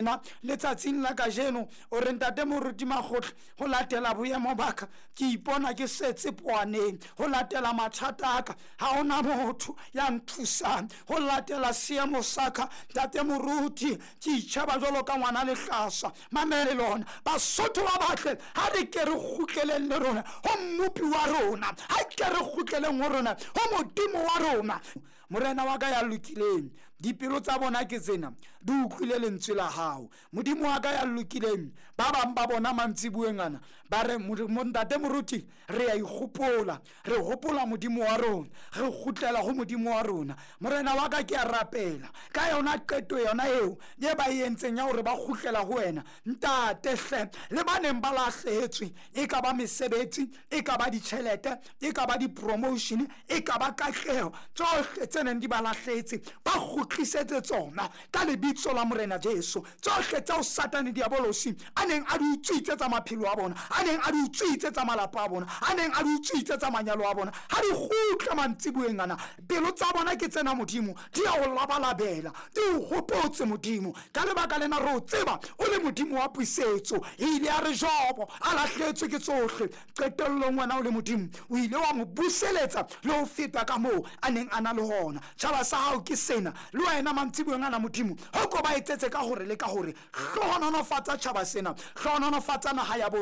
Na letsatsing la kajeno o re, Ntate Moruti Makgotla, ho latela boemo ba ka ke ipona ke setse poaneng. Ho latela mathata a ka ha hona motho ya nthusang. Ho latela seemo sa ka, Ntate Moruti, ke itjheba jwalo ka ngwana lehlaswa. Mamele lona Basotho ba batle, ha re ke re kgutleleng le rona ho Mmopi wa rona, ha ke re kgutleleng ho rona ho Modimo wa rona. Morena wa ka ya lokileng, dipelo tsa bona ke tsena, di utlwile lentswe la hao. Modimo wa ka ya lokileng, ba bang ba bona mantsibueng ana ba re, Ntate Moruti, re ya ikgopola, re hopola Modimo wa rona, re kgutlela ho Modimo wa rona. Morena wa ka, ke a rapela ka yona qeto yona eo ye ba e entseng ya hore ba kgutlela ho wena. Ntate hle, le ba neng ba lahlehetswe, e ka ba mesebetsi, e ka ba ditjhelete, e ka ba di-promotion, e ka ba katleho, tsohle tse neng di ba lahlehetse ba kgutlisetse tsona ka lebitso la Morena Jesu. Tsohle tseo Satane Diabolosi a neng a di utswitse tsa maphelo a bona, a neng a di utswitse tsa malapa a bona, a neng a di utswitse tsa manyalo a bona, ha di kgutle mantsibueng ana. Pelo tsa bona ke tsena, Modimo, di ya o labalabela, di o hopotse, Modimo. Ka lebaka lena re o tseba o le Modimo wa pusetso. E ile ya re Jobo a lahletswe ke tsohle, qetellong wena o le Modimo o ile wa mo buseletsa le ho feta ka moo a neng a na le hona. Tjhaba sa hao ke sena, le wena mantsibueng ana, Modimo, ho ko ba etsetse ka hore le ka hore. Hlohonolofatsa tjhaba sena, hlohonolofatsa naha ya bo.